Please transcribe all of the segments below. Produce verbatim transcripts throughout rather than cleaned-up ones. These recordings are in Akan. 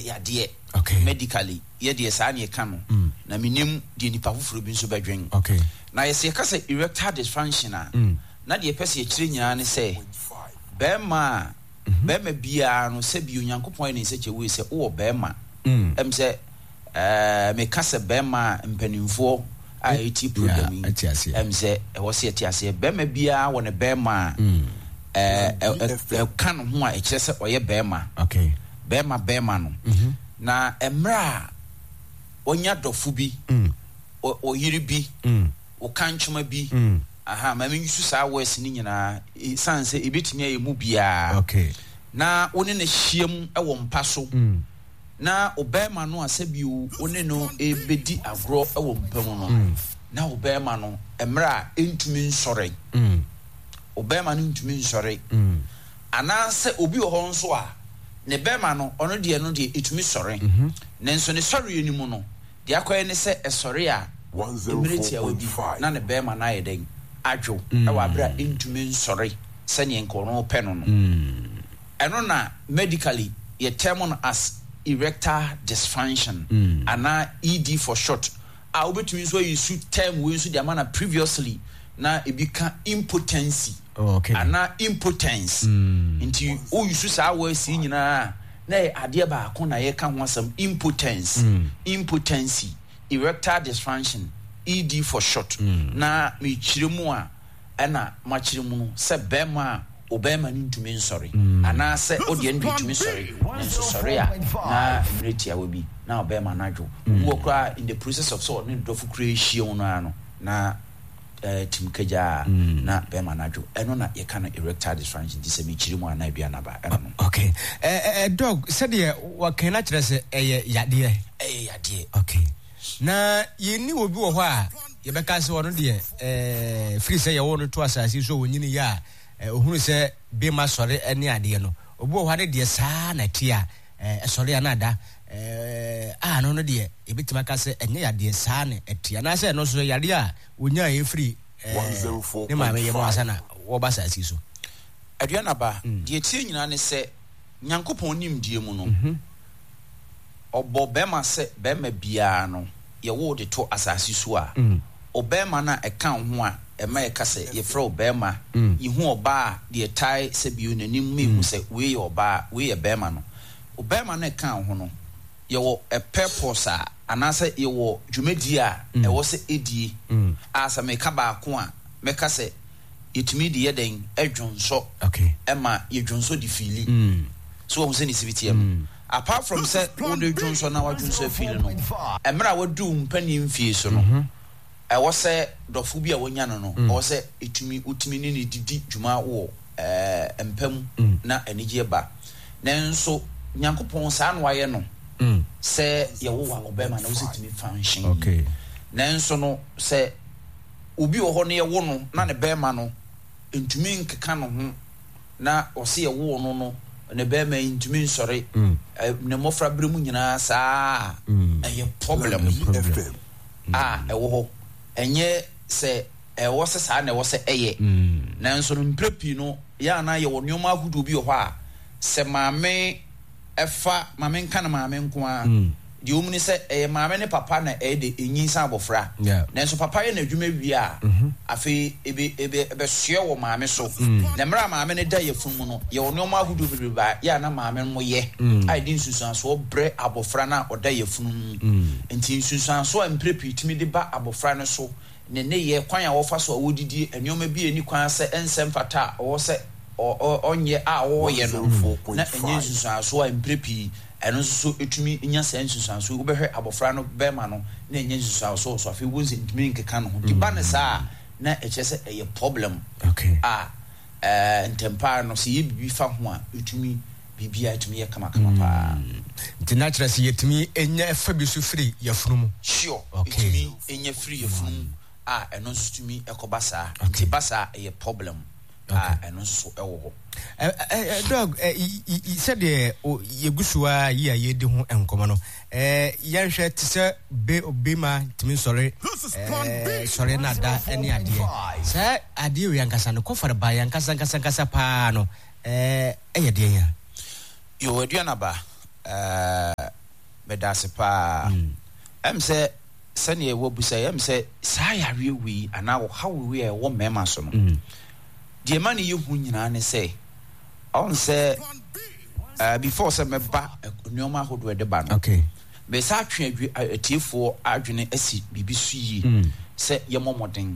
Ɛyɛ yadeɛ. Okay. Medically, yɛdeɛ saa ne yɛka no. Mm. Na menim deɛ nipa foforɔ bi nso bɛdwen. Okay. Na yɛsɛ yɛka sɛ erectile dysfunction a, Mm. na deɛ yɛpɛ sɛ yɛkyerɛ nyinaa ne sɛ bɛrima a bɛrima biara no, sɛbi, Onyankopɔn ayɛ ne nsa kyɛ wei sɛ wowɔ bɛrima. Mm. Ɛm sɛ ɛɛ meka sɛ bɛrima a, mpanimfoɔ a ɛti program yi Yeah, ɛte aseɛ. ɛm sɛ ɛwɔ sɛ yɛte aseɛ, bɛrima biara wɔ ne bɛrima a Mm. ɛɛ ɛ- ɛ- ɛka ne ho a ɛkyerɛ sɛ ɔyɛ bɛrima. Okay. Bɛrima bɛrima no, Mhm. na mmerɛ a ɔnya dɔfo bi, Mm. ɔ- ɔyere bi, Mm. ɔka ntwoma bi, Mm. aha, ma mensu saa words no nyinaa, ɛsiane sɛ ɛbɛtumi ayɛ mu biara, Okay. na wo ne no hyiam wɔ mpa so, Mm. na ɔbɛrima no a sɛbio wo ne no ɛbɛdi agorɔ wɔ mpa mu no, na ɔbɛrima no mmerɛ a ɛntumi nsɔre, Mm. ɔbɛrima no ntumi nsɔre, Mm. anaasɛ obi wɔ hɔ nso a ne bɛrima no, ɔno deɛ no deɛ ɛtumi sɔre, nanso ne sɔreɛ no mu no deɛ akɔyɛ ne sɛ ɛsɔre a, mmerɛ tiawa bi na ne bɛrima no ayɛ dɛn? Adwo ɛwɔ aberɛ a ɛntumi nsɔre sɛneɛ nka ɔno pɛ no no. Mm. Ɛno na medically yɛ term no as erectile dysfunction Mm. anaa E D for short, a wobɛtumi nso ayi su term wei nso de ama na previously na ebi ka impotency Oh, okay. anaa impotence. Mm. Nti woyi saa words yi nyinaa na yɛ adeɛ baako na yɛka ho asɛm: impotence, Mm. impotency, erectile dysfunction, E D for short. Mm. Na mekyerɛ mu a, ɛna makyerɛ mu no sɛ bɛrima a ɔbɛrima no ntumi nsɔre, anaasɛ wodeɛ no deɛ tumi sɔre, nanso sɔre a na mmerɛ tiawa bi na ɔbɛrima no adwo. Obi wɔ koraa, in the process of sɛ ɔne dɔfo koraa ahyia mu no ara no na eh, tim kagyaa na bɛrima no adwo. Ɛno na yɛka no erectile dysfunction. Nti sɛ mekyerɛ mu a, na aduane aba ɛno no. Okay. Eh, eh, doc, sɛdeɛ wɔkan no kyerɛ sɛ ɛyɛ yadeɛ. Ɛyɛ yadeɛ. Okay. Na yɛnni obi wɔ hɔ a yɛbɛka sɛ ɔno deɛ eh, firi sɛ yɛwɔ no to asase so, ɔnyini yɛ a, eh, ɔhunu sɛ bɛma sɔre ne adeɛ no, obi wɔ hɔ a ne deɛ saa na ɛte a, eh, ɛsɔre a na ada eh, a no no deɛ yɛbɛtumi aka sɛ ɛnyɛ yadeɛ, saa na ɛte, anaasɛ ɛno nso yadeɛ a ɔnyaa ɛfiri eh, ne maame yɛ mu ansa na wɔba asase so? Aduane aba, deɛ tie nyinaa ne sɛ Nyankopɔn nimdeɛ mu no, ɔbɔ bɛrima sɛ bɛrima biara no yɛwo de to asase so a, ɔbɛrima no a ɛka wo ho a ɛma yɛka sɛ yɛfrɛ wo bɛrima, yɛhu ɔbaa a deɛ tae sɛ bio n'anim ma yɛhu sɛ wei yɛ ɔbaa, wei yɛ bɛrima no, ɔbɛrima no ɛka wo ho no, yɛwɔ a purpose a anaasɛ yɛwɔ dwumadie a ɛwɔ sɛ ɛdie a, sɛ meka baako a, mɛka sɛ yɛtumi de yɛ dɛn? Ɛdwonsɔ. Okay. Ɛma yɛdwonsɔ de fill so, wɔn sɛ ne sibi teɛ no, apart from sɛ wode dwonsɔ na wadwonsɔ afill no, mmerɛ a wadu wo mpanin mfie so no, ɛwɔ sɛ dɔfo bi a wanya no no ɛwɔ sɛ ɛtumi wotumi ne ne didi dwuma wɔ ɛɛ mpa mu na anigyeɛ ba. Nanso Nyankopɔn saa na wayɛ no sɛ yɛwo wa ɔbɛrima na wosɛ tumi function. Okay. Nanso no, sɛ obi wɔ hɔ no yɛwo no na ne bɛrima no ntumi nkeka ne ho, na ɔsɛ yɛwo no no ne bɛrima yi ntumi nsɔre ɛ, ne mmɔfra berɛ mu nyinaa saa a, ɛyɛ problem a ɛwɔ hɔ. Ɛnyɛ sɛ ɛwɔ sɛ saa na ɛwɔ sɛ ɛyɛ, nanso no mprɛ pii no yɛ ana yɛwɔ nneɛma ahodoɔ bi wɔ hɔ a sɛ maame ɛfa maame nka no maame nko a, deɛ ɔmu ne sɛ ɛyɛ maame ne papa na ɛyɛ de ɛnyinsa abɔfra. Yeah. Nanso papa yɛ n'adwuma wie a, afei ebe ebe ɛbɛsoɛ wɔ maame so, na mmerɛ a maame no da yɛfunu mu no, yɛwɔ nneɛma ahodoɔ bebree a yɛ a na maame no yɛ a yɛde nsunsuansoɔ brɛ abɔfra no a ɔda yɛfunu mu. Nti nsunsuansoɔ a mprɛ pii tumi de ba abɔfra no so ne ne yɛ kwan a wɔfa so a wɔdidi, nneɛma bi a ɛni kwan sɛ ɛnsɛ mfata a ɔwɔ sɛ ɔ- ɔ- ɔnyɛ a ɔreyɛ no, na ɛnyɛ nsunsuansoɔ a mprɛ pii ɛno nso so ɛtumi nya saa nsunsuansoɔ. Wobɛhwɛ abɔfra no bɛrima no na ɛnyɛ nsunsuansoɔ wɔ so. Afei wobɛhu sɛ ntumi nkeka no ho, nti ba ne saa a, na ɛkyerɛ sɛ ɛyɛ problem Okay. a ɛɛ ntɛmpaa no sɛ yɛ biribi fa ho a, ɛtumi biribiara ɛtumi yɛ kamakama paa. Nti na kyerɛ sɛ yɛtumi ɛnya ɛfa bi so firi yɛfunu mu? Sure. Okay. Ɛtumi ɛnya firi yɛfunu mu a, ɛno nso tumi ɛkɔba saa. Nti ba saa, ɛyɛ problem a ɛno nso ɛwɔ hɔ. Ɛ- ɛ- ɛ, doc, ɛ, y- y- y- sɛdeɛ o- yɛgu so a yi a yɛdi ho nkɔmmɔ no, ɛ, yɛnhwɛ te sɛ be bema tumi sɔre ɛ, sɔre no ada ne adeɛ, saa adeɛ wei ankasa no kɔfare ba yɛ ankasa ankasa ankasa paa no, ɛ, ɛyɛ deɛn a? Yo, aduanaba, ɛɛ Meda ase paa. Ɛm sɛ sɛnea ɛwɔ busa, ɛm sɛ saa yareɛ wei anaa ɔhaw wei a ɛwɔ mmarima so no, deɛ ɛma no yɛ hu nyinaa ne sɛ ɔn sɛ uh, before sɛ mɛba nneɛma ahodoɔ ɛde ba no, okay mɛsa atwe adwe atiefoɔ adwene asi biribi so yie sɛ yɛmmɔ mmɔden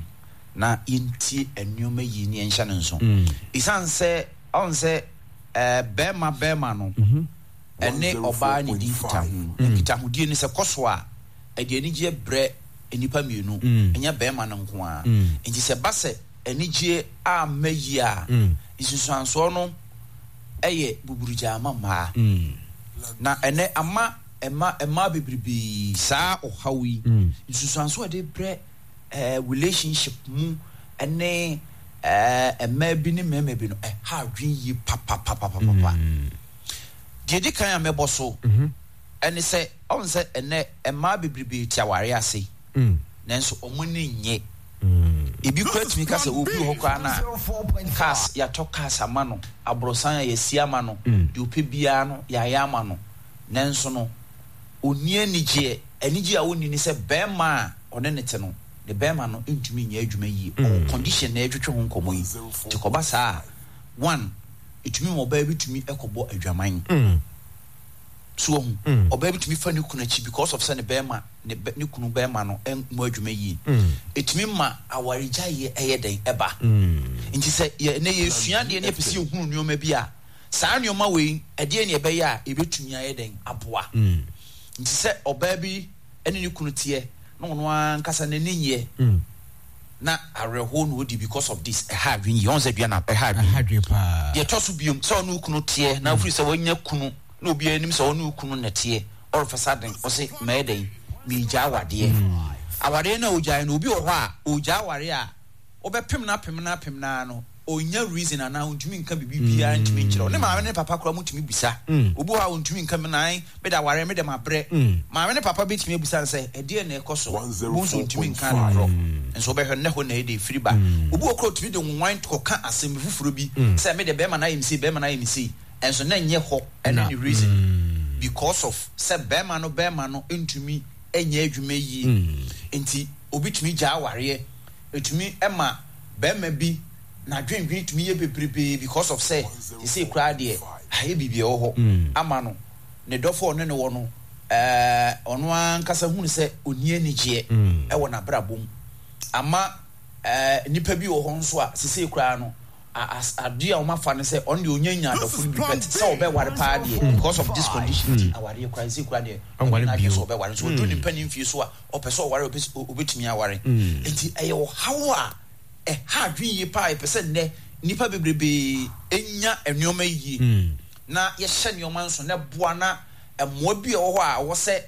na yɛntie nneɛma yie ne yɛnhyɛ no nso, ɛsiane sɛ ɔn sɛ ɛɛ bɛrima bɛrima no ɛne ɔbaa ne di nkitaho. Nkitahodie no sɛ kɔ so a, ɛde anigyeɛ brɛ nnipa mmienu, ɛnyɛ bɛrima no nko ara. Nti sɛ ba sɛ anigyeɛ amma yie a, nsusuansoɔ no ɛyɛ buburugya ama mmaa. Na ɛnɛ ama ɛma mmaa bebrebee saa ɔhaw yi, nsusuansoɔ a ɛde brɛ ɛɛ relationship mu ɛne ɛɛ mmaa bi ne mmarima bi no, ɛha adwene yie papapapapapa. Deɛ di kan a mɛbɔ so ɛne sɛ ɔn sɛ ɛnɛ mmaa bebrebee te aware ase, nanso ɔmo ani nye. Ebi kura tumi ka sɛ obi wɔ hɔ koraa na cars, yɛatɔ cars ama no, aborosan a yɛasi ama no, deɛ ɔpɛ biara no yɛayɛ ama no, nanso no ɔnni anigyeɛ. Anigyeɛ a ɔnni ne sɛ bɛrima a ɔne ne te no, ne bɛrima no ntumi nyɛ adwuma yie. Ɔwɔ condition na yɛtwetwe ho nkɔmmɔ yi. Nti kɔba saa a, one, ɛtumi ma ɔbaa bi tumi kɔbɔ adwaman so. Ɔhu ɔbaa bi tumi fa ne kunu akyi because of sɛ ne bɛrima ne bɛ ne kunu bɛrima no mmɔ adwuma yie. Ɛtumi ma awaregyaeɛ ɛyɛ dɛn ɛba. Nti sɛ yɛ ne yɛsua adeɛ ne yɛpɛ sɛ yɛhunu nneɛma bi a, saa nneɛma wei ɛdeɛ ne ɛbɛyɛ a ɛbɛtumi ayɛ dɛn aboa. Nti sɛ ɔbaa bi ne ne kunu teɛ na ɔno ankasa n'ani nyɛ na awerɛhoɔ na ɔdi because of this, ɛha adwene yie. Ɔn sɛ dua na ɛha adwene. Deɛ ɛtɔ so biom, sɛ ɔne wo kunu teɛ na wofiri sɛ wanya kunu na obiara anim sɛ ɔne wo kunu na teɛ, ɔrefa sa den, ɔsɛ mɛyɛ dɛn, meegya awadeɛ. Awadeɛ no a ɔgyae no, obi wɔ hɔ a ɔgya awareɛ a, wobɛpem no apem no apem no no, ɔnya reason anaa ɔntumi nka biribi biara, ntumi nkyerɛ. Ne maame ne papa koraa mutumi bisa. Obi wɔ hɔ a ɔntumi nka mi nan mede awareɛ mede ma brɛ. Maame ne papa bɛtumi abisa no sɛ ɛdeɛ na ɛkɔ so bo nso ɔntumi nka no korɔ. Nso wobɛhwɛ no, ne hɔ na ɛde ɛfiri ba. Obi wɔ koraa ɔtumi de nwan kɔka asɛm bi foforɔ bi sɛ mede bɛrima no ayɛ me sei, bɛrima no ayɛ me sei, ɛnso na ɛnyɛ hɔ ɛne ne reason, because of sɛ bɛrima no bɛrima no ntumi nyɛ adwuma yie. Nti obi tumi gya awareɛ. Ɛtumi ma bɛrima bi n'adwendwene tumi yɛ bebrebee because of sɛ sesei koraa deɛ ayɛ biribi ɛwɔ hɔ ama no, ne dɔfo a ɔne ne wɔ no, ɛɛ ɔno ankasa hunu sɛ ɔnni anigyeɛ ɛwɔ n'abrabɔ mu. Ama ɛɛ nipa bi wɔ hɔ nso a sesei koraa no, adeɛ a wɔn afa no sɛ ɔno deɛ ɔnya nya adɔfo no bi pɛ sɛ ɔbɛware paa deɛ, because of this condition ti awareɛ koraa sesei koraa deɛ ɔno n'adwene sɛ ɔbɛware nso, ɔduru ne mpanin fie so a ɔpɛ sɛ ɔware, ɔbɛtumi aware. Nti ɛyɛ ɔhaw a ɛha adwene yie paa. Yɛpɛ sɛ nnɛ nnipa bebrebee nya nneɛma yie na yɛhyɛ nneɛma nso na ɛboa na mmoa bi a ɛwɔ hɔ a ɛwɔ sɛ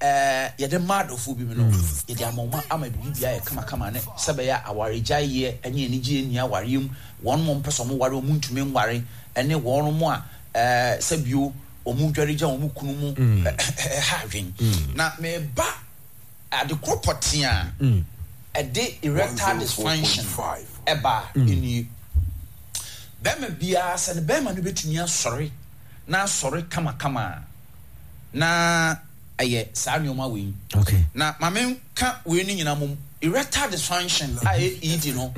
ɛɛ yɛde ma adɔfoɔ bi mu no, yɛde ama wɔn ama biribi ayɛ kamakama ne sɛ bɛyɛ awaregyaeɛ ne anigyeɛ nni awareɛ mu. Wɔn mo mpɛ sɛ wɔn ware, wɔn ntumi nware, ɛne wɔn mo a ɛɛ sɛ bio wɔn dware gya wɔn kunu mu, ɛha adwene. Na meba adekoro pɔtee a ɛde erectile dysfunction ɛba nie. Bɛrima biara, sɛ ne bɛrima no bɛtumi asɔre na asɔre kamakama a, na ɛyɛ saa nneɛma wei. Na maame nka wei no nyinaa mom. Erectile dysfunction a ɛyɛ E D no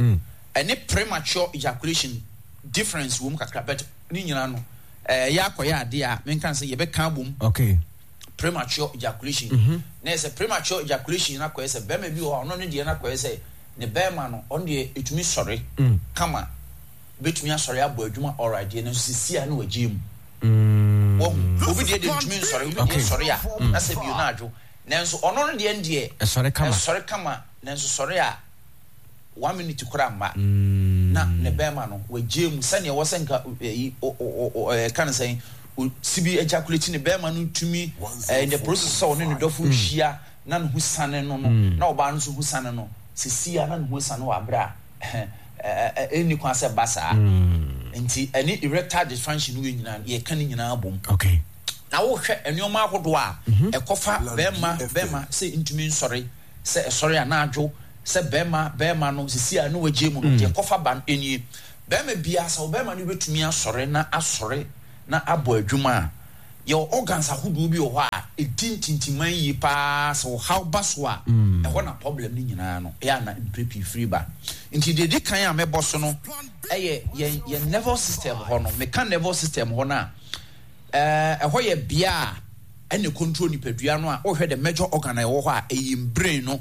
ɛne premature ejaculation, difference wɔ mu kakra, but ne nyinaa no ɛyɛ akɔyɛ adeɛ a menka sɛ yɛbɛka abom. Okay premature ejaculation mm -hmm. na yɛ sɛ premature ejaculation na akɔyɛ sɛ bɛrima bi wɔ hɔ a, ɔno ne deɛ na akɔyɛ sɛ ne bɛrima no, ɔno deɛ etumi sɔre kama, bɛtumi asɔre abɔ adwuma, alright deɛ, nanso sisi a na wagye mu. Wɔhu obi deɛ deɛ ntumi nsɔre, obi deɛ sɔre a na sɛ bio na adwo, nanso ɔno no deɛ deɛ ɛsɔre kama. Ɛsɔre kama, nanso sɔre a one minute koraa mma na ne bɛrima no wagye mu sɛnea ɛwɔ sɛ nka ɛyi ɛka no sɛn si bi ejaculate ne bɛrima no tumi ɛɛ in the process sɛ ɔne ne dɔfo hyia na ne ho sane no no na ɔbaa no nso ho sane no sisi a na ne ho sane wɔ abere a ɛɛ ɛnni kwan sɛ ba saa. Nti ɛne erectile dysfunction no yɛ nyinaa, yɛka ne nyinaa bom. Okay na wohwɛ nneɛma ahodoɔ a ɛkɔfa bɛrima bɛrima sɛ ntumi nsɔre, sɛ ɛsɔre a na adwo, sɛ bɛrima bɛrima no sisi a ne wagye mu no, deɛ ɛkɔfa ba no nie. Bɛrima biara, sɛ ɔbɛrima no bɛtumi asɔre na asɔre na abɔ adwuma a, yɛwɔ organs ahodoɔ bi wɔ hɔ a ɛdi ntintiman yie paa sɛ ɔhaw ba so a, ɛhɔ na problem no nyinaa no ɛyɛ ana mpere pii firi ba. Nti deɛ ɛdi kan a mɛbɔ so no ɛyɛ yɛn yɛn nervous system hɔ no. Meka nervous system hɔ no a, ɛɛ ɛhɔ yɛ bea a ɛna control nipadua no a wohwɛ the major organ a ɛwɔ hɔ a, ɛyɛ brain no,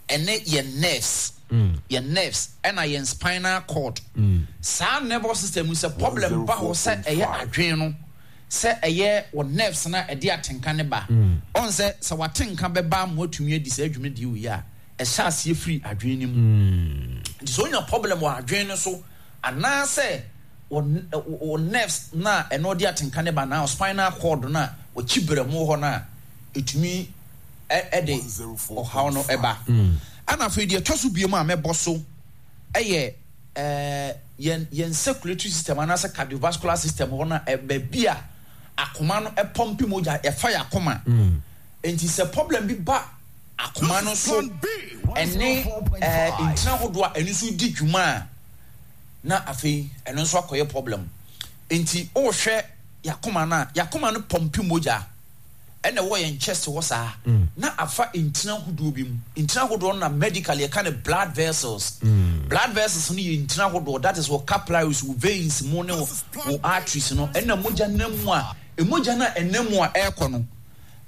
ɛne yɛn nerves, yɛn nerves ɛna yɛn spinal cord. Saa nervous system no, sɛ problem ba hɔ, sɛ ɛyɛ adwene no, sɛ ɛyɛ wɔ nerves na ɛde atenka ne ba ɔn sɛ sɛ watenka bɛba ama watumi adi saa adwumadie wei a, ɛhyɛ aseɛ firi adwene no mu. Nti sɛ onya problem wɔ adwene no so anaasɛ wɔ wɔ nerves na ɛno ɔde atenka ne ba na spinal cord no a wɔkyi brɛmo hɔ no a, ɛtumi ɛde ɔhaw no ɛba. Ɛna afei deɛ ɛtɔ so biem a mɛbɔ so ɛyɛ ɛɛ yɛn yɛn circulatory system anaasɛ cardiovascular system hɔ no, baabi a akoma no ɛpɔmpe mogya ɛfa yɛ akoma. Nti sɛ problem bi ba akoma no so ɛne ɛɛ ntina ahodoɔ a ɛno nso di dwuma a, na afei ɛno nso akɔyɛ problem. Nti ɔrehwɛ yakoma no a, yakoma no pɔmpe mogya ɛna ɛwɔ yɛn chest hɔ saa na afa ntina ahodoɔ bi mu. Ntina ahodoɔ no na medically yɛka no blood vessels. Blood vessels no yɛ ntina ahodoɔ, that is wɔ capillaries, wɔ veins mu ne wɔ arteries no, ɛna mogya nam mu a, mogya no a ɛnam mu a ɛrekɔ no,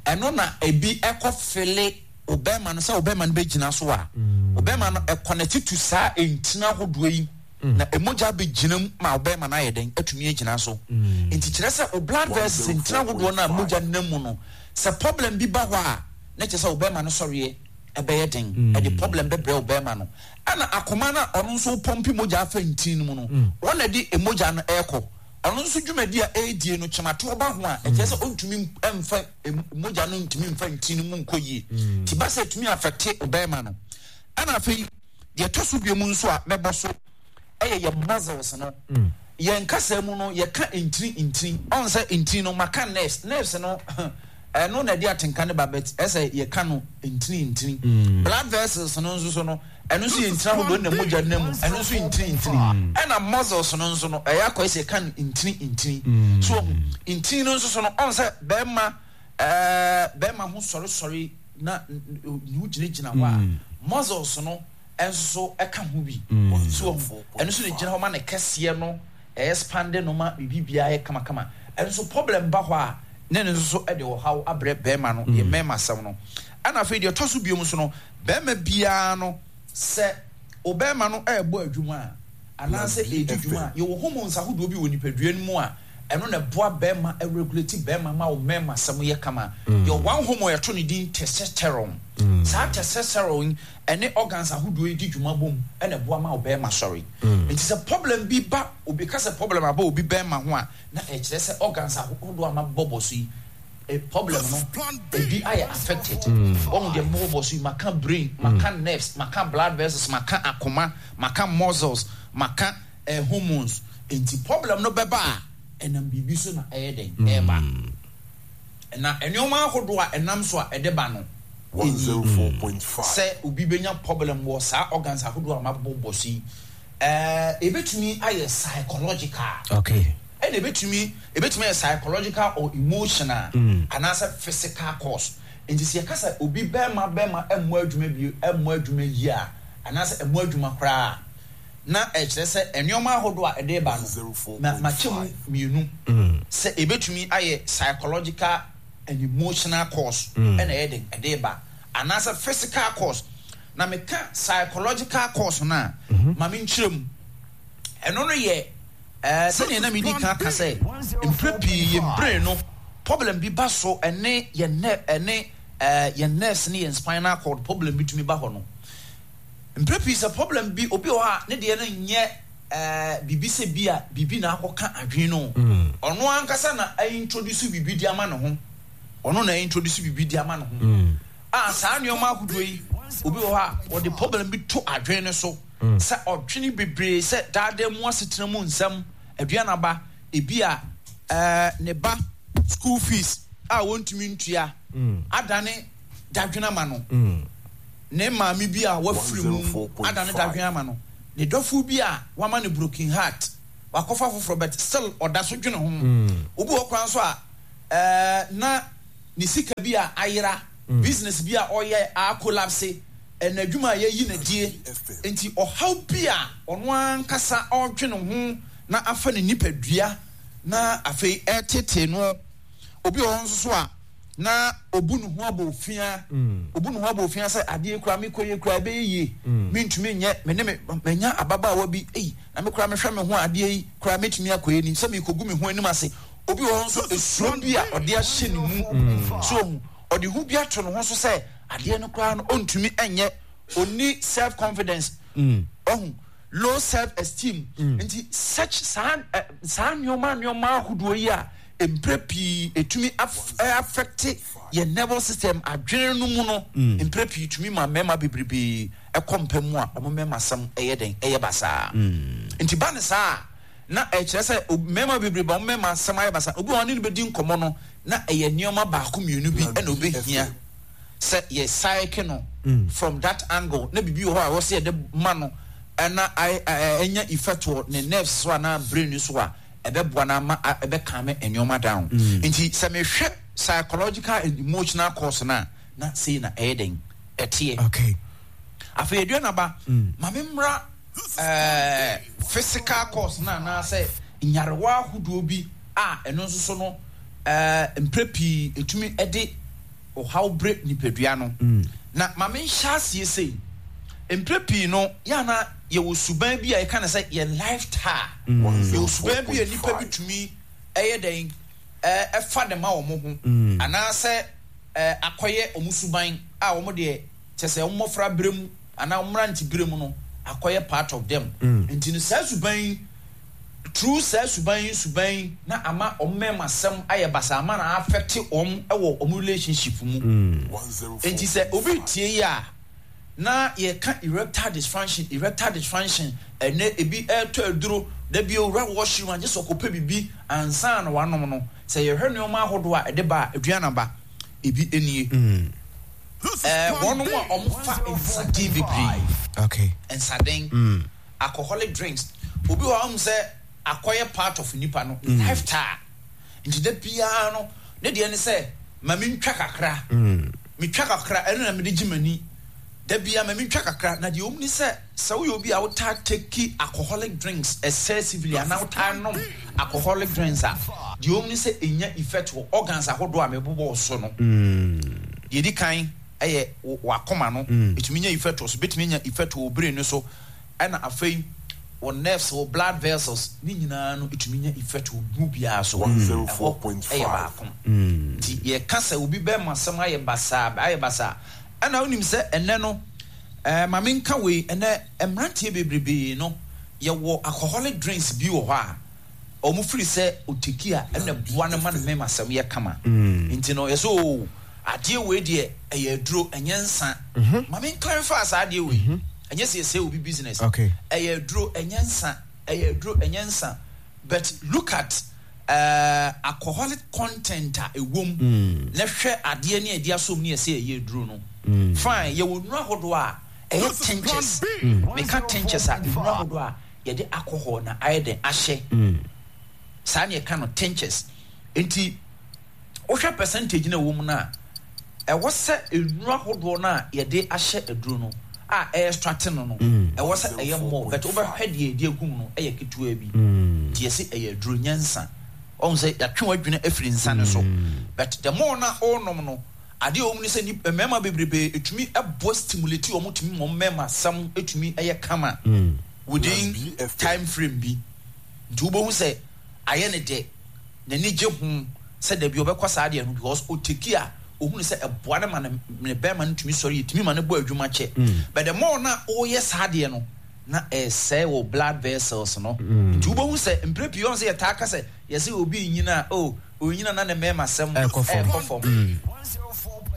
ɛno na ebi ɛkɔ fele ɔbɛrima no sɛ ɔbɛrima no bɛgyina so a, ɔbɛrima no ɛconnect to saa ntina ahodoɔ yi na emogya bɛgyina mu ma ɔbɛrima no ayɛ dɛn atumi agyina so. Nti kyerɛ sɛ o blood vessels, ntina ahodoɔ no a mogya nam mu no, sɛ problem bi ba hɔ a, na kyerɛ sɛ ɔbɛrima no sɔreɛ ɛbɛyɛ den, ɛde problem bɛbrɛ ɔbɛrima no. Ɛna akoma no a ɔno nso pɔmpe mogya afa ntin no mu no, wɔn na de mogya no ɛrekɔ. Ɔno nso dwumadi a ɛredie no, kyematoɔ ba ho a, ɛkyerɛ sɛ ɔntumi mfa mogya no, ntumi mfa ntin no mu nkɔ yie. Ti ba sɛ ɛtumi affect ɔbɛrima no. Ɛna afei deɛ ɛtɔ so bio mu nso a mɛbɔ so ɛyɛ yɛ muscles no. Yɛn kasa mu no, yɛka ntini ntini, ɔn sɛ ntini no, maka nerves. Nerves no, ɛno na ɛde atenka ne ba, but ɛsɛ yɛka no ntini ntini. Blood vessels no nso so no, ɛno nso yɛ ntini ahodoɔ na mogya nam mu, ɛno nso yɛ ntini ntini. Ɛna muscles no nso no, ɛyɛ akɔyɛ sɛ yɛka no ntini ntini so. Ntini no nso so no, ɔn sɛ bɛrima ɛɛ bɛrima ho sɔresɔre na ne ho gyinagyina hɔ a, muscles no nso so ɛka ho bi so. Ɛno nso na gyina hɔ ma ne kɛseɛ no ɛyɛ no ma biribi biara yɛ kamakama. Ɛno nso problem ba hɔ a, ne ne nso so ɛde ɔhaw abrɛ bɛrima no, yɛ mmarima asɛm no. Ɛna afei deɛ ɛtɔ so biom nso no, bɛrima biara no, sɛ ɔbɛrima no ɛrebɔ adwuma a anaasɛ ɛredi dwuma a, yɛwɔ hormones ahodoɔ bi wɔ nipadua no mu a ɛno na ɛboa bɛrima, ɛregulate bɛrima ma wo mmarima asɛm yɛ kama. Yɛ one hormone yɛto ne din testosterone. Saa testosterone ɛne organs ahodoɔ yi di dwuma bom ɛna ɛboa ma wo bɛrima sɔre. Nti sɛ problem bi ba, obi ka sɛ problem aba obi bɛrima ho a, na ɛkyerɛ sɛ organs ahodoɔ a mabɔbɔ so yi, eh, problem no ebi ayɛ affected. Wɔn deɛ mabɔbɔ so yi, maka brain, maka nerves, maka blood vessels, maka akoma, maka muscles, maka eh, hormones. Nti problem no bɛba a, ɛnam biribi so na ɛyɛ den ɛɛba. Na nneɛma ahodoɔ a ɛnam so a ɛde ba no, sɛ obi bɛnya problem wɔ saa organs ahodoɔ a mabɔbɔ so yi, ɛɛ ebetumi ayɛ psychological. Okay. Ɛna ebetumi ebetumi ayɛ psychological or emotional mm. anaasɛ physical cause. Nti sɛ yɛka sɛ obi bɛrima bɛrima ɛmmɔ adwuma bi, ɛmmɔ adwuma yie a, anaasɛ ɛmmɔ adwuma koraa, na ɛkyerɛ sɛ nneɛma ahodoɔ a ɛde ba no na makyɛ mu mmienu sɛ ebetumi ayɛ psychological and emotional cause ɛna ɛyɛ den ɛde ba, anaasɛ physical cause. Na meka psychological cause no a, maame nkyerɛ mu, ɛno no yɛ ɛɛ sɛdeɛ na medi kan ka sɛ mpere pii yɛn brain no problem bi ba so, ɛne yɛn nerve, ɛne ɛɛ yɛn nerves ne yɛn spinal cord problem bi tumi ba hɔ no. Mpere pii sɛ problem bi, obi wɔ hɔ a ne deɛ no nyɛ ɛɛ biribi sɛ bi a biribi na akɔka adwene no, ɔno ankasa na introduce biribi di ama ne ho, ɔno na introduce biribi di ama ne ho a. Saa nneɛma ahodoɔ yi, obi wɔ hɔ a wɔde problem bi to adwene no so sɛ ɔdwene bebree sɛ daadaa mu asetena mu nsɛm, aduanaba, ebi a ɛɛ ne ba school fees a wɔntumi ntua adane dadwene ama no, ne maame bi a wafiri mu adane dadwene ama no, ne dɔfo bi a wama no broken heart, wakɔfa foforɔ but still ɔda so dwene ho. Obi wɔ kwan so a ɛɛ na Ne sika bi a ayera, business bi a ɔyɛ a collapse, ɛna adwuma a yɛyi n'adie. Nti ɔhaw bi a ɔno ankasa ɔredwene ho na afa ne nipadua na afei ɛtetee no. Obi wɔ hɔ nso so a na obu ne ho abɔ ofia, obu ne ho abɔ ofia sɛ adeɛ kura me kɔ yie kura ɛbɛyɛ yie, mentumi nyɛ, me ne me manya ababaawa bi, ei, na me kura mehwɛ me ho adeɛ yi kura metumi akɔ yɛ ni sɛ mekɔgu me ho anim ase. Obi wɔ hɔ nso, esuro bi a ɔde ahyɛ ne mu so, ohun ɔde ho bi ato ne ho so sɛ adeɛ no koraa no ɔntumi nyɛ, ɔni self confidence, ɔhu low self esteem. Nti such saa ɛ saa nneɛma nneɛma ahodoɔ yi a mpere pii etumi affect yɛn nervous system, adwene no mu no, mpere pii tumi ma mmarima bebrebe ɛkɔ mpa mu a wɔn mmarima asɛm ɛyɛ den, ɛyɛ basaa. Nti ba ne saa na ɛkyerɛ sɛ mmarima bebrebe a wɔn mmarima asɛm ayɛ basaa, obi a ɔne no bɛdi nkɔmɔ no na ɛyɛ nneɛma baako mmienu bi ɛna obɛhia sɛ yɛ psyche no from that angle, na biribi wɔ hɔ a wɔsɛ yɛde ma no ɛna ɛnya effect wɔ ne nerves so anaa brain so a ɛbɛboa no ama ɛbɛcalm nneɛma down. Nti sɛ mehwɛ psychological and emotional cause no a, na sei na ɛyɛ den ɛteɛ. Okay afei aduanaba, ma me mmra ɛɛ physical cause no anaasɛ nyarewa ahodoɔ bi a ɛno nso so no ɛɛ mpere pii etumi ɛde ɔhaw bere nipadua no. Na ma me nhyɛ aseɛ sei, mpere pii no yɛana yɛwɔ suban bi a yɛka no sɛ yɛ lifestyle. Yɛwɔ suban bi a nipa bi tumi ɛyɛ dɛn ɛɛ ɛfa ne ma wɔn ho anaasɛ ɛɛ akɔyɛ wɔn suban a wɔn deɛ kyɛ sɛ wɔn mmɔfra bere mu anaa wɔn mmerante bere mu no akɔyɛ part of them. Nti no saa suban yi, through saa suban yi suban yi na ama wɔn mmarima asɛm ayɛ basa, ama na affect wɔn wɔ wɔn relationship mu. Nti sɛ obi tie yi a na yɛka erectile dysfunction, erectile dysfunction, ɛnɛ ebi ɛretɔ aduro dabi owura washroom agye sɛ ɔkɔpɛ bibi ansa na wanom no. Sɛ yɛhwɛ nneɛma ahodoɔ a ɛde ba a, aduanaba ebi nie. ɛɛ wɔn a wɔfa nsaden bebree, okay nsaden, alcoholic drinks, obi wɔ hɔ a sɛ akɔyɛ part of nipa no lifestyle. Nti da biara no ne deɛ ne sɛ ma mi ntwa kakra, mi twa kakra, ɛno na mi de gye m'ani da biara, ma mi ntwa kakra. Na deɛ wɔn ni sɛ sɛ woyɛ obi a wotaa take alcoholic drinks excessively anaa wotaa nom alcoholic drinks a, deɛ wɔn ni sɛ enya effect wɔ organs ahodoɔ a mebobɔ so no. Deɛ di kan ɛyɛ wakoma no, etumi nya effect wɔ so, betumi nya effect wɔ brain no so, ɛna afei wɔ nerves, wɔ blood vessels ne nyinaa no, etumi nya effect wɔ mu biara so. Ɛhɔ ɛyɛ baako. Nti yɛka sɛ obi bɛrima asɛm ayɛ basaa, ayɛ basaa, ɛna wonim sɛ ɛnɛ no ɛɛ maame nka wei, ɛnɛ mmeranteɛ bebrebe no yɛwɔ alcoholic drinks bi wɔ hɔ a wɔn firi sɛ otake a ɛna boa no ma ne mmarima asɛm yɛ kama. Nti no yɛsɛ o adeɛ wei deɛ ɛyɛ aduro, ɛnyɛ nsa. Maame clarify saa adeɛ wei, ɛnyɛ sɛ yɛsɛ obi business. Okay. Ɛyɛ aduro, ɛnyɛ nsa, ɛyɛ aduro, ɛnyɛ nsa, but look at uh, alcoholic content a ɛwɔ mu na hwɛ adeɛ ne ɛde asom ne yɛsɛ ɛyɛ aduro no. Fine, yɛwɔ nnuro ahodoɔ a ɛyɛ tinctures. Meka tinctures a, nnuro ahodoɔ a yɛde alcohol na ayɛ den ahyɛ saa ne yɛka no tinctures. Nti wohwɛ percentage na ɛwɔ mu no a, ɛwɔ sɛ nnuro ahodoɔ no a yɛde ahyɛ aduro no a ɛyɛ extract no no ɛwɔ sɛ ɛyɛ more, but wobɛhwɛ deɛ yɛde agu mu no ɛyɛ ketewa bi. Nti yɛsɛ ɛyɛ aduro, nyɛ nsa. Ɔhu sɛ yɛatwe w'adwene afiri nsa no so, but the more na ɔrenom no, adeɛ a ɛwɔ mu ne sɛ nip mmarima bebrebe ɛtumi ɛboa stimulate wɔn, tumi ma wɔn mmarima asɛm ɛtumi ɛyɛ kama within time frame bi. Nti wobɛhu sɛ ayɛ ne dɛ, n'ani gye ho sɛ dabi ɔbɛkɔ saa adeɛ no because ɔtake a ohunu sɛ ɛboa no ma ne ne bɛrima no tumi sɔre, yɛtumi ma no bɔ adwuma kyɛ. But the more na ɔreyɛ saa adeɛ no na ɛsɛe wɔ blood vessels no. Nti wobɛhu sɛ mpere pii ɔn sɛ yɛtaa ka sɛ yɛsɛ obi nyina o onyina na ne mmarima sɛm ɛkɔ fam. Ɛkɔ fam.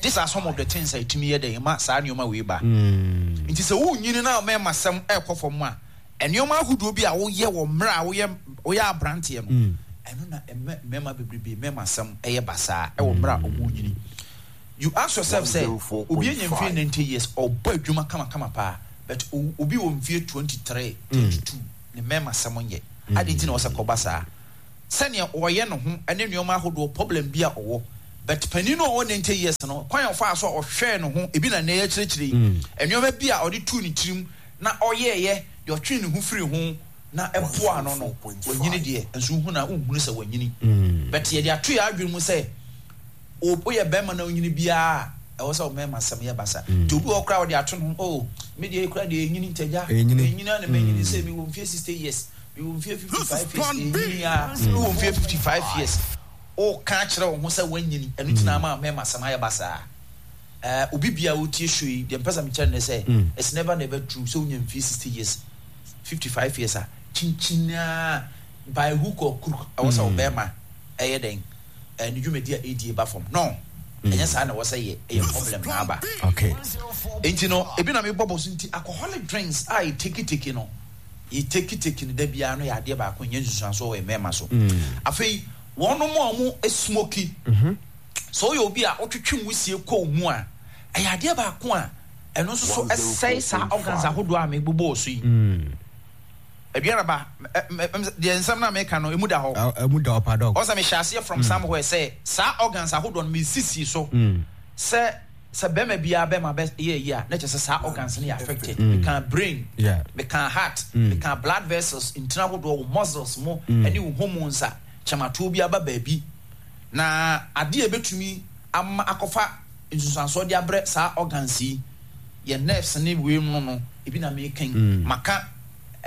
These are some of the things a ɛtumi yɛ dɛ ma saa nneɛma wei ba. Nti sɛ wonyini na mmarima sɛm ɛkɔ fam a, nneɛma ahodoɔ bi a woyɛ wɔ mmerɛ a woyɛ woyɛ aberanteɛ no, ɛno na ɛmɛ mmarima bebrebe mmarima sɛm ɛyɛ basaa ɛwɔ mmerɛ a wɔn nyini. You ask yourself sɛ obi anya mfie ninety years, ɔbɔ adwuma kamakama paa, but obi wɔ mfie twenty three, twenty two, ne mmarima sɛm nyɛ adi. Nti na ɔsɛ kɔba saa sɛnea ɔyɛ ne ho ne nneɛma ahodoɔ, problem bi a ɔwɔ. But panin no a ɔwɔ ninety years no, kwan a ɔfaa so a ɔhwɛɛ ne ho, ebi na nnɛ yɛkyerɛkyerɛ yi, nneɛma bi a ɔde tuu ne tirim na ɔyɛeɛ, deɛ ɔtwee ne ho firii ho na ɛboaa no no, wanyini deɛ, nso wohu no a, wonhunu sɛ wanyini. But yɛde ato yɛn adwene mu sɛ, woyɛ barima na wonyini biara a, ɛwɔ sɛ wo mmarima asɛm yɛ basa. Nti obi wɔ hɔ koraa a ɔde ato ne ho, oh, me deɛ koraa deɛ ɛnyini nti agya, ɛnyini a na manyini sɛ mewɔ mfeɛ sixty years, mewɔ mfeɛ fifty five years, ɛnyini a, wowɔ mfeɛ fifty five years, woka akyerɛ wo ho sɛ woanyini, ɛno nti na ama mmarima asɛm ayɛ basaa. Eh, obi bia a ɔtie show yi, deɛ mpɛ sɛ mekyerɛ no ne sɛ, it's never never true sɛ wonya mfeɛ sixty years, fifty five years a, kyinkyin ara by hook or crook, ɛwɔ sɛ wo bɛrima ɛyɛ dɛn? Eh, ne dwumadi a ɛdie ba fam. No, ɛnyɛ saa na ɛwɔ sɛ yɛ, ɛyɛ problem na aba. Okay. Nti no, ebi na mebɔ bɔ so nti, alcoholic drinks a yɛtekiteki no, yɛtekiteki no da biara no yɛ adeɛ baako, ɛnyɛ nsusuansoɔ wɔ mmarima so. Afei, wɔnom a wɔn smoki, sɛ woyɛ obi a wotwetwe nwusie kɔ wo mu a, ɛyɛ adeɛ baako a ɛno nso so ɛsɛe saa organs ahodoɔ a mebobɔɔ so yi. Aduanaba, deɛ nsɛm no a meka no, emu da hɔ. Emu da hɔ pa dɔg. Ɔsɛ mehyɛ aseɛ from somewhere sɛ saa organs ahodoɔ no mesisi so sɛ sɛ bɛrima biara bɛrima bɛ yɛ yi a na kyerɛ sɛ saa organs no yɛ affected. Meka brain, meka heart, meka blood vessels, ntini ahodoɔ, wo muscles mo ɛne wo hormones a kyɛmatoɔ bi aba baabi. Na adeɛ a ɛbɛtumi ama akɔfa nsunsuansoɔ de abrɛ saa organs yi, yɛn nerves ne wei no no, ebi na meka yi. Maka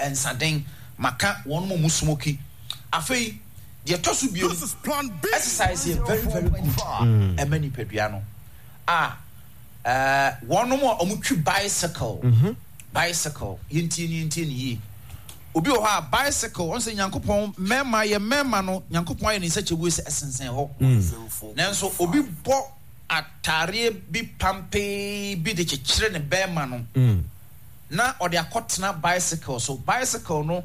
nsaden, maka wɔn mu smoki. Afei, deɛ ɛtɔ so bio, exercise yɛ very very good ɛma nipadua no. A ɛɛ wɔn a wɔtwi bicycle, bicycle, yɛntie ne yɛntie ne yie. Obi wɔ hɔ a bicycle, wɔn sɛ Nyankopɔn mmarima yɛ mmarima no, Nyankopɔn ayɛ ne nsa kyɛwue sɛ ɛsensɛn hɔ. Nanso obi bɔ ataareɛ bi pampee bi de kyekyere ne bɛrima no, na ɔde akɔtena bicycle so. Bicycle no,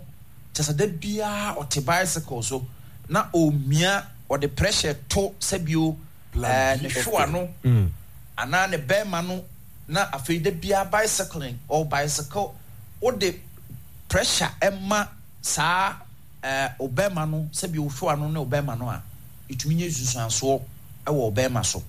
kyɛ sɛ da biara ɔte bicycle so na ɔmia, ɔde pressure to sɛbio ɛɛ ne hwewa no anaa ne bɛrima no, na afei da biara bicycling, ɔ bicycle, wode pressure ɛma saa ɛɛ ɔbɛrima no, sɛbio hwewa no ne ɔbɛrima no a, ɛtumi nya nsunsuansoɔ ɛwɔ ɔbɛrima so.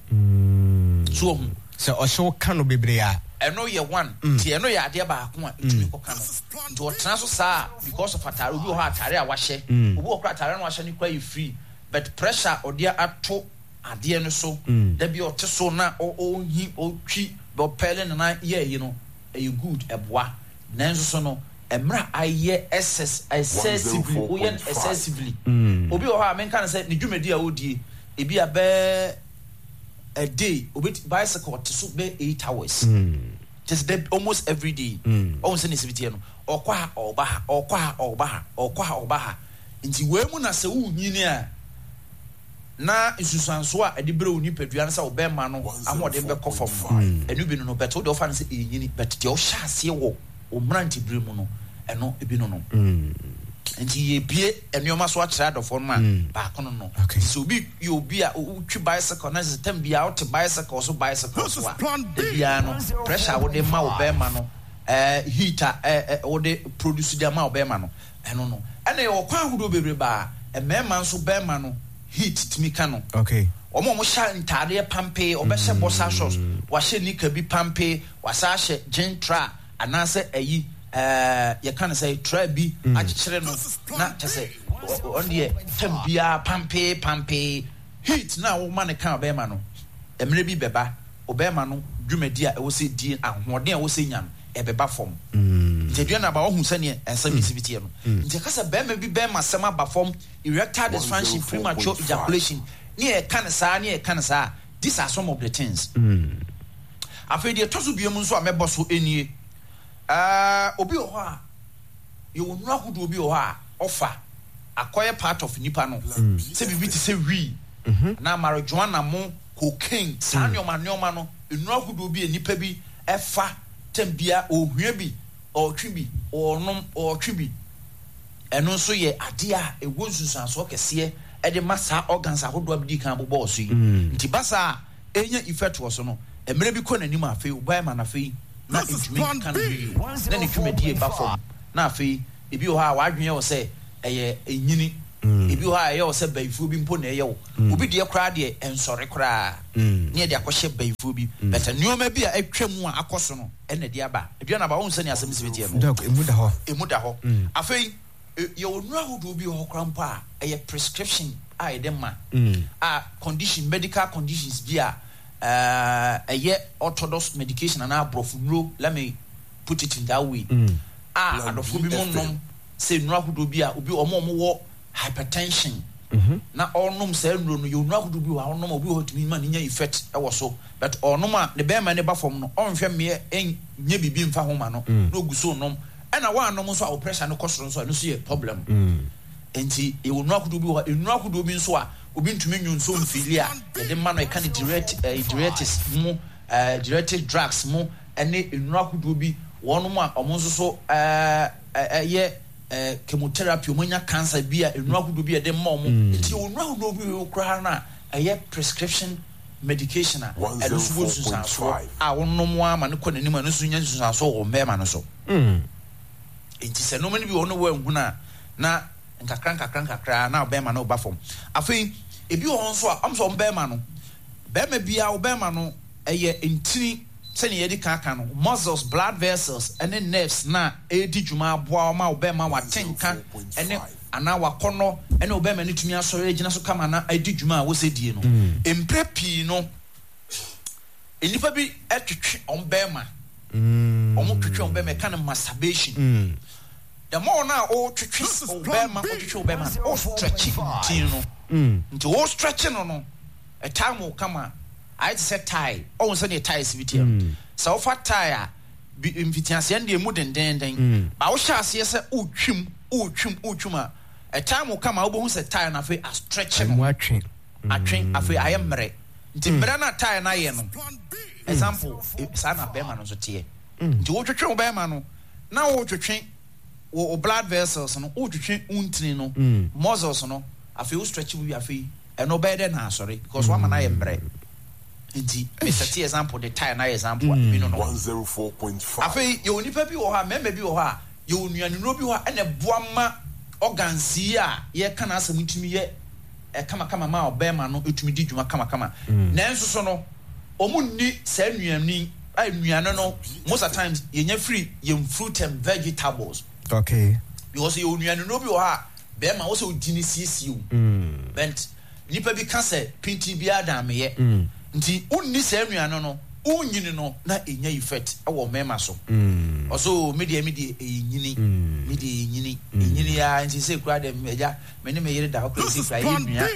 So ɔhu. Sɛ ɔhyew ka no bebree a. Ɛno yɛ one. Nti ɛno yɛ adeɛ baako a ɛtumi kɔka no. Nti ɔtena so saa because of ataare. Obi wɔ hɔ ataare a wahyɛ. Obi wɔ koraa ataare no wahyɛ no koraa yɛ free. But pressure a ɔde ato adeɛ no so, da bi ɔte so na ɔhi, ɔtwi, ɔpɛle ne nan yɛ ayi no, ɛyɛ good, ɛboa. Nanso so no, mmerɛ a ayɛ excess, excessively, woyɛ no excessively. Obi wɔ hɔ a menka no sɛ ne dwumadi a ɔdie, ebi a bɛɛ a day, obi bicycle te so bɛɛ eight hours. Just that almost every day. Ɔhu sɛ ne sibitiɛ no, ɔkɔ ha, ɔba ha, ɔkɔ ha, ɔba ha, ɔkɔ ha, ɔba ha. Nti wei mu na sɛ wonyini a, na nsusuansoɔ a ɛde brɛ wo nipadua no sɛ wo bɛrima no ahoɔden bɛkɔ fam no, ɛno bi no no, but wode ɔfa no sɛ ɛnyini, but deɛ ɔhyɛ aseɛ wɔ wo mmerantebere mu no, ɛno bi no no. Nti yɛbie nneɛma so akyerɛ adɔfoɔ no a, baako no no. Nti sɛ obi yɛ obi a wotwi bicycle na sɛ tam biara wote bicycle so bicycle so a, da biara no, pressure a wode ma wo bɛrima no, eh, heat a eh, eh, wode produce de ama wo bɛrima no, ɛno no. Ɛna yɛwɔ kwan ahodoɔ bebree baa mmarima nso bɛrima no heat tumi ka no. Okay. Wɔn a wɔhyɛ ntaadeɛ pampee, wɔbɛhyɛ boxer shorts, wahyɛ nika bi pampee, wasa ahyɛ jean tra anaasɛ ayi ɛɛ yɛka no sɛ tra bi akyekyere no na kyɛ sɛ ɔno deɛ tam biara pampee pampee. Heat na wɔma no ka ɔbɛrima no, mmerɛ bi bɛba ɔbɛrima no dwumadi a ɛwɔ sɛ die, ahoɔden a ɛwɔ sɛ nya no ɛbɛba fam. Nti aduane aba ɔhu sɛneɛ ɛnsɛm yi si bi teɛ no. Nti ɛka sɛ bɛrima bi bɛrima sɛm aba fam, erectile dysfunction, premature ejaculation, ne yɛka no saa ne yɛka no saa, these are some of the things. Afei deɛ ɛtɔ so biom nso a mɛbɔ so nie, uh, obi wɔ hɔ a yɛwɔ nnuro ahodoɔ bi wɔ hɔ a ɔfa akɔyɛ part of nipa no, sɛ biribi te sɛ wii anaa marijuana mo, cocaine, saa nneɛma nneɛma no, nnuro ahodoɔ bi a nipa bi ɛfa tɛm bia ɔhua bi, ɔtwe bi, ɔnom, ɔtwe bi. Ɛno nso yɛ adeɛ a ɛwɔ nsunsuansoɔ kɛseɛ ɛde ma saa organs ahodoɔ a medi kan bobɔɔ so yi. Nti ba saa a ɛnya effect wɔ so no, mmerɛ bi kɔ n'anim a afei ɔbɛma no afei na ntumi nka ne ho yie, na ne dwumadie ba fam, na afei ebi wɔ hɔ a w'adwene yɛ wɔ sɛ ɛyɛ nyini. Ebi wɔ hɔ a ɛyɛ wo sɛ bayifoɔ bi mpo na ɛyɛ wo. Obi deɛ koraa deɛ ɛnsɔre koraa ne yɛde akɔhyɛ bayifoɔ bi. But nneɛma bi a atwa mu a akɔ so no ɛna ɛde aba. Aduane aba, wohu sɛnea asɛm si teɛ no? Doc, emu da hɔ. Emu da hɔ. Afei yɛwɔ nnuro ahodoɔ bi wɔ hɔ koraa mpo a ɛyɛ prescription a yɛde ma a condition, medical conditions bi a ɛyɛ orthodox medication anaa aborɔfo nnuro, let me put it in that way, a adɔfoɔ bi mo nom sɛ nnuro ahodoɔ bi a obi wɔn a wɔwɔ hypertension na ɔnom saa nnuro no, yɛ nnuro ahodoɔ bi wɔ hɔ a ɔnom a obi wɔ hɔ tumi ma ne nya effect wɔ so, but ɔnom a ne bɛrima ne ba fam no, ɔnhwɛ mmeɛ nyɛ biribi mfa ho ma no na ogu so nom, ɛna wɔanom nso a wo pressure no kɔ soro nso a, ɛno nso yɛ problem. Nti yɛwɔ nnuro ahodoɔ bi wɔ hɔ, nnuro ahodoɔ bi nso a obi ntumi nwu nso mfili a yɛde ma no, ɛka ne diuretic ɛɛ diuretics mu, ɛɛ diuretic drugs mu, ɛne nnuro ahodoɔ bi wɔn mu a wɔn nso so ɛɛ ɛyɛ ɛɛ chemotherapy, wɔn anya cancer bi a nnuro ahodoɔ bi a yɛde ma wɔn. Nti yɛwɔ nnuro ahodoɔ bi wɔ koraa no a ɛyɛ prescription medication a ɛno nso wɔ nsunsuansoɔ a wɔnom ama no kɔ n'anim a ɛno nso nya nsunsuansoɔ wɔ mmarima no so. Nti sɛ nneɛma no bi wɔ hɔ no wɔanhunu a, na nkakra nkakra nkakra na ɔbɛrima no ba fam. Afei ebi wɔ hɔ nso a ɔmo sɛ ɔmo bɛrima no, bɛrima biara ɔbɛrima no ɛyɛ ntini sɛnea yɛde kan aka no, muscles, blood vessels ɛne nerves na ɛredi dwuma aboa ɔma ɔbɛrima wate nka ɛne anaa wakɔnɔ ɛne ɔbɛrima no tumi asɔre agyina so kama na adi dwuma a wɔsɛ die no. Mpere pii no, nnipa bi ɛtwetwe ɔmo bɛrima, ɔmo twetwe ɔmo bɛrima, ɛka no masturbation. The more na o twetwe o bɛrima, o twetwe o bɛrima, o stretch ntin no. Nti o stretch no no, ɛtaa mo kama ayɛ te sɛ tie, ɔwɔ sɛ deɛ tie si bi teɛ no. Sɛ wofa tie a bi mfitiaseɛ no deɛ emu dendenden, ba wohyɛ aseɛ sɛ o twim o twim o twim a, ɛtaa mo kama, wobɛhu sɛ tie no afei a stretch no. Mu atwe. Atwe, afei ayɛ mmerɛ. Nti mmerɛ no a tie no ayɛ no, example, saa na bɛrima no nso teɛ. Nti wotwetwe wo bɛrima no na wotwetwe wo blood vessels no, wotwetwe wo ntini no, muscles no, afei wo stretch wo wie, afei ɛno bɛyɛ dɛ na asɔre because wama no ayɛ mmerɛ. Nti mesɛte example de tie na ayɛ example a ebi no no. Afei yɛwɔ nipa bi wɔ hɔ a, mmarima bi wɔ hɔ a, yɛwɔ nnuanennuro bi wɔ hɔ a ɛna ɛboa ma organs yi a yɛka n'asɛm ntumi yɛ kamakama ma ɔbɛrima no etumi di dwuma kamakama. Nanso so no, wɔn nni saa nnuane a nnuane no most of times yɛnya firi yɛn fruit and vegetables. Okay. Because yɛwɔ nnuanennuro bi wɔ hɔ a bɛrima wɔ sɛ odi ne siesie o. But nipa bi ka sɛ pintin biara dan meyɛ. Nti wonni saa nnuane no, wonyini no na enya effect ɛwɔ mmarima so. Ɔso me deɛ me deɛ ɛyɛ nyini, me deɛ ɛyɛ nyini, nyini ya nti sɛ kura deɛ ɛgya me ne me yere da hɔ kura sɛ kura yɛ nua,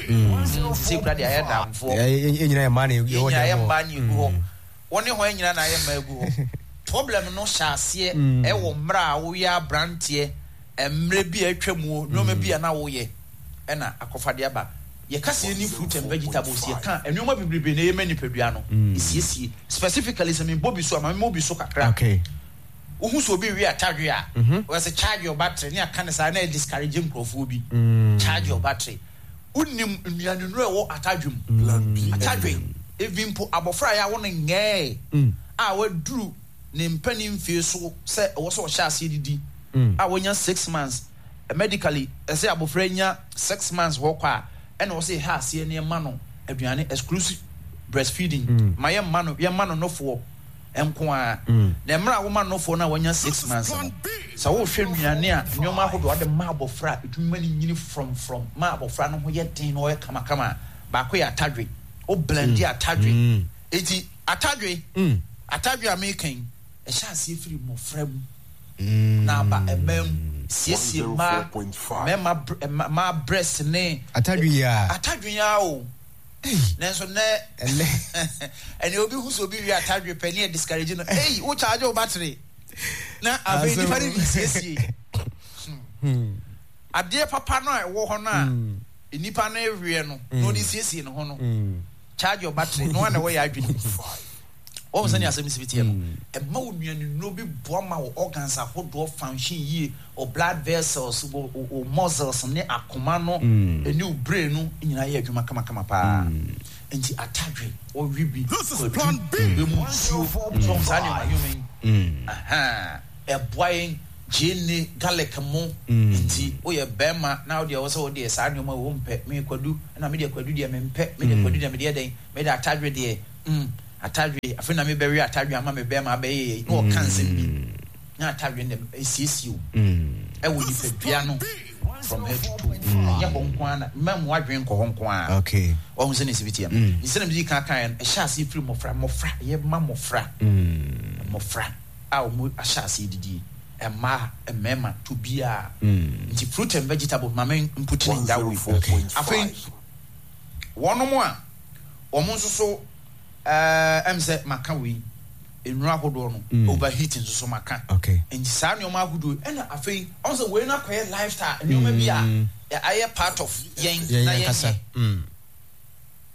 nti sɛ kura deɛ ayɛ damfoɔ. Yɛn nyinaa yɛ mmaa na ɛwɔ dɛm hɔ. Mmaa na egu hɔ. Wɔn ne hɔn nyinaa na ayɛ mmaa egu hɔ. Problem no hyɛ aseɛ ɛwɔ mmerɛ a woyɛ aberanteɛ, mmerɛ bi a atwa mu, nneɛma bi a na woyɛ ɛna akɔfa de aba. Yɛka sɛ yɛni fruit and vegetables, yɛka nneɛma bebrebe na ɛyɛ ma nipadua no esiesie. Specifically sɛ mebɔ bi so a, ma memmɔ bi so kakra. Okay. Wohu sɛ obi wi atadwe a, wɔsɛ charge your battery ne aka ne saa na discourage nkurɔfoɔ bi. Charge your battery. Wonim nnuane nnuro a ɛwɔ atadwe mu. Atadwe, ebi mpo abɔfra a yɛawo no ngɛɛ a waduru ne mpanin mfie so sɛ ɛwɔ sɛ ɔhyɛ aseɛ didi a wanya six months, medically ɛsɛ abɔfra nya six months hɔ kɔ a ɛna ɔsɛ yɛhyɛ aseɛ ne ɛma no aduane, exclusive breastfeeding, ma yɛmma no yɛmma no nofoɔ nko ara. Na mmerɛ a woma nofoɔ no a wanya six months no, sɛ wohwɛ nnuane a nneɛma ahodoɔ ade ma abɔfra a ɛtumi ma no nyini frɔmfrɔm ma abɔfra no ho yɛ den na ɔyɛ kamakama a, baako yɛ atadwe. Wo blend atadwe, eti atadwe atadwe a meka yi, ɛhyɛ aseɛ firi mmɔfra mu na aba mmaa mu, siesie mmaa mmarima mmaa breast ne atadwe yi a atadwe yi a o. Nanso nɛ ɛnɛ obi hu sɛ obi wi atadwe pɛ ne yɛ discourage no, ei, wo charge wo battery na afei nipa no de siesie adeɛ papa no a ɛwɔ hɔ no a nipa no ewie no na ɔde siesie ne ho no. Charge your battery no ana ɛwɔ yɛ adwene wɔn sɛ ne asɛm si bi teɛ no, ɛma wo nnuane nnuro bi boa ma wo organs ahodoɔ function yie, wo blood vessels, wo wo muscles ne akoma no ɛne wo brain no nyinaa yɛ adwuma kamakama paa. Nti atadwe wɔwe bi, kwadu bɛ mu nsuo so saa nneɛma nneɛma yi ɛboa yɛn. Gyeene, garlic mo nti woyɛ bɛrima na wodeɛ wɔ sɛ wodeɛ saa nneɛma wɔ mpɛ. Me kwadu ɛna medeɛ kwadu deɛ mempɛ. Medeɛ kwadu deɛ medeɛ dɛn, mede atadwe deɛ mm atadwe afei na mebɛwe atadwe ama me bɛrima abɛyɛ yɛ na ɔka nsɛm bi na atadwe no esiesie o ɛwɔ nipadua no from head to toe. Ɛnyɛ hɔ nko ara na mma mu adwene nkɔ hɔ nko ara. Okay. Ɔhu sɛ ne si bi teɛ no nsɛm na medi kan kan no, ɛhyɛ ase firi mmɔfra mmɔfra yɛ ma mmɔfra mmɔfra a wɔn ahyɛ ase didie, mmaa, mmarima to biara. Nti fruit and vegetable, maame mputi ne that way. Afei wɔnom a wɔn nso so ɛɛ ɛm sɛ maka wei, nnuro ahodoɔ no, overheat nso so maka. Okay. Nti saa nneɛma ahodoɔ yi, ɛna afei ɔn sɛ wei no akɔyɛ lifestyle nneɛma bi a ayɛ part of yɛn yɛn na yɛn kasa. yɛn Mm.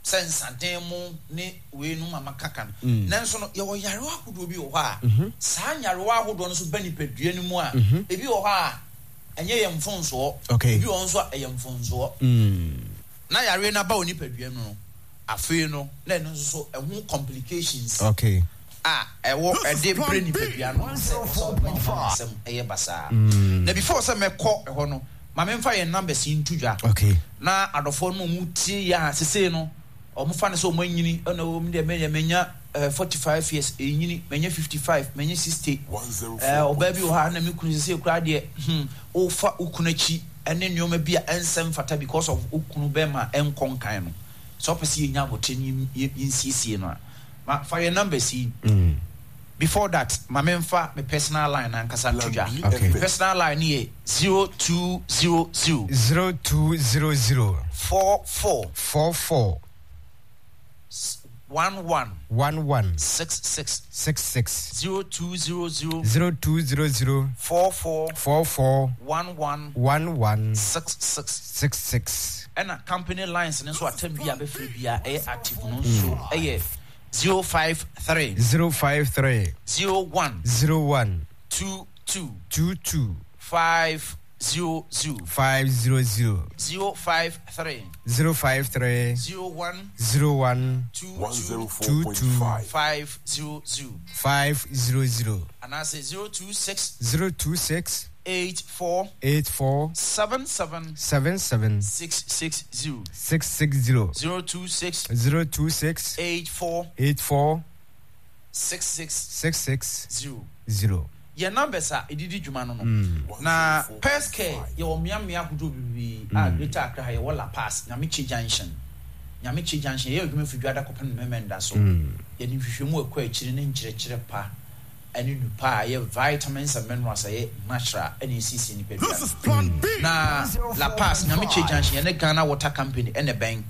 sɛ nsaden mu ne wei no mama kaka no. Nanso no yɛwɔ yarewa ahodoɔ bi wɔ hɔ a saa nyarewa ahodoɔ no nso ba nipadua no mu a, ebi wɔ hɔ a ɛnyɛ yɛn mfonsoɔ. Okay. Ebi wɔ hɔ nso a ɛyɛ mfonsoɔ Mm. na yareɛ no aba wɔ nipadua mu no, afei no na ɛno nso so ɛho complications Okay. a ɛwɔ ɛde brɛ nipadua no sɛ sɛ ɔma ɔma nsɛm ɛyɛ basaa. Na before sɛ mɛkɔ ɛhɔ no, ma memfa yɛn numbers yi nto dwa Okay. na adɔfoɔ no a ɔmo tie yɛ a sesei no ɔmo fa no sɛ ɔmo anyini, ɛna ɔmo deɛ mɛnyɛ mɛnya ɛɛ forty five years ɛnyini, mɛnya fifty five, mɛnya sixty, ɛɛ ɔbaa bi wɔ ha na me kunu sesei koraa deɛ hmm ɔfa wo kunu akyi ɛne nneɛma bi a ɛnsɛm fata because of wo kunu bɛrima ɛnkɔ nkan no sɛ ɔpɛ sɛ yɛnya abotire ne yɛn yɛnsiesie no a, ma fa yɛn numbers yi. Before that, ma memfa me personal line ankasa nto dwa. Okay. Me personal line no yɛ zero two zero zero Zero two zero zero four four four four one one one one six six six six zero two zero zero zero two zero zero four four four four one one one one six six six six. Ɛna company lines no nso, atam bi a bɛfrɛ bi a ɛyɛ active no nso ɛyɛ zero five three Zero five three zero one zero one two two two two five zero zero five zero zero zero five three zero five three zero one zero one two One two zero four two point two five. five zero zero five zero zero anaasɛ zero two six zero two six eight four eight four seven seven seven seven six six zero six six zero zero two six zero two six eight four eight four six six six six zero. zero. Yɛn numbers a ɛdidi dwuma no no na Pers Care, yɛwɔ mmeammea ahodoɔ bebree a Greater Accra ha. Yɛwɔ La Pass, Nyamekye Junction. Nyamekye Junction, yɛyɛ adwuma firi Dwada kɔpem Mmɛmɛnda so. Yɛde nhwehwɛmu ɛkɔ akyiri ne nkyerɛkyerɛ pa ɛne nupa a ɛyɛ vitamins and minerals a ɛyɛ natural ɛna ɛsiesie nipadua no. Na La Pass, Nyamekye Junction, yɛne Ghana Water Company ɛna bɛn.